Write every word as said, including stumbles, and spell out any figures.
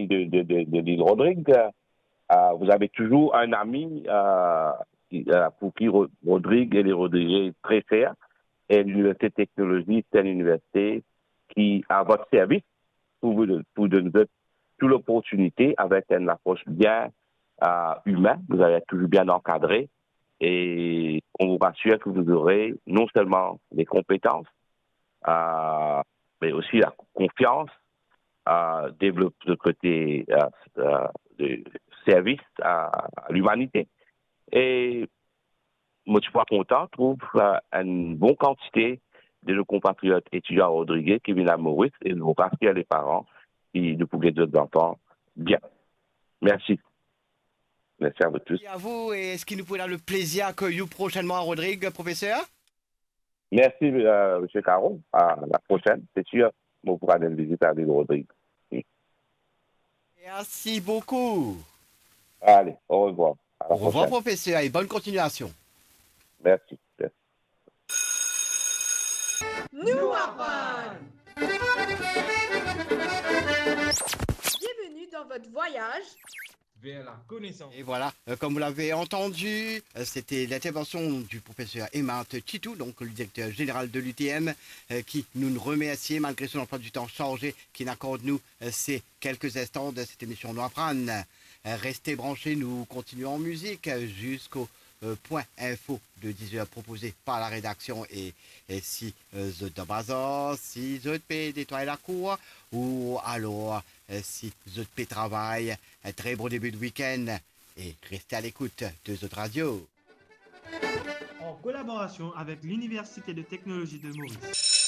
de, de, de, de l'île Rodrigue. Euh, vous avez toujours un ami, euh, qui, euh, pour qui Ro-, Rodrigue et les Rodriguais est très cher. Et l'Université de technologie, c'est une université qui est à votre service pour vous, pour donner toute l'opportunité avec une approche bien, euh, humaine. Vous allez être toujours bien encadré et on vous rassure que vous aurez non seulement les compétences, euh, mais aussi la confiance, euh, développer le côté, euh, euh, de service à, à l'humanité. Et mo ti pou kontan trouv, euh, une bonne quantité de nos compatriotes étudiants à Rodrigues qui viennent à Maurice et nous rassure les parents qui nous pouvons d'autres enfants bien. Merci. Merci à vous tous. Et à vous, et est-ce que nous pouvons avoir le plaisir que you prochainement à Rodrigue, professeur? Merci, euh, monsieur Caron. À la prochaine, c'est sûr. Bon, pour aller visiter à l'île Rodrigue. Merci beaucoup. Allez, au revoir. À la prochaine. Au revoir, professeur, et bonne continuation. Merci. Merci. Nou aprann. Bienvenue dans votre voyage vers la connaissance. Et voilà, euh, comme vous l'avez entendu, euh, c'était l'intervention du professeur Aimard Tchitou, donc le directeur général de l'U T M, euh, qui nous remercie malgré son emploi du temps chargé, qui accorde nous, euh, ces quelques instants de cette émission Nou Aprann. Euh, restez branchés, nous continuons en musique, euh, jusqu'au, euh, point info de dix heures proposé par la rédaction. Et, et si, euh, zot dan bazar, si zot pe netway lakour, ou alors, euh, si zot pe travay, un très bon début de week-end et restez à l'écoute de zot radio. En collaboration avec l'Université de technologie de Maurice.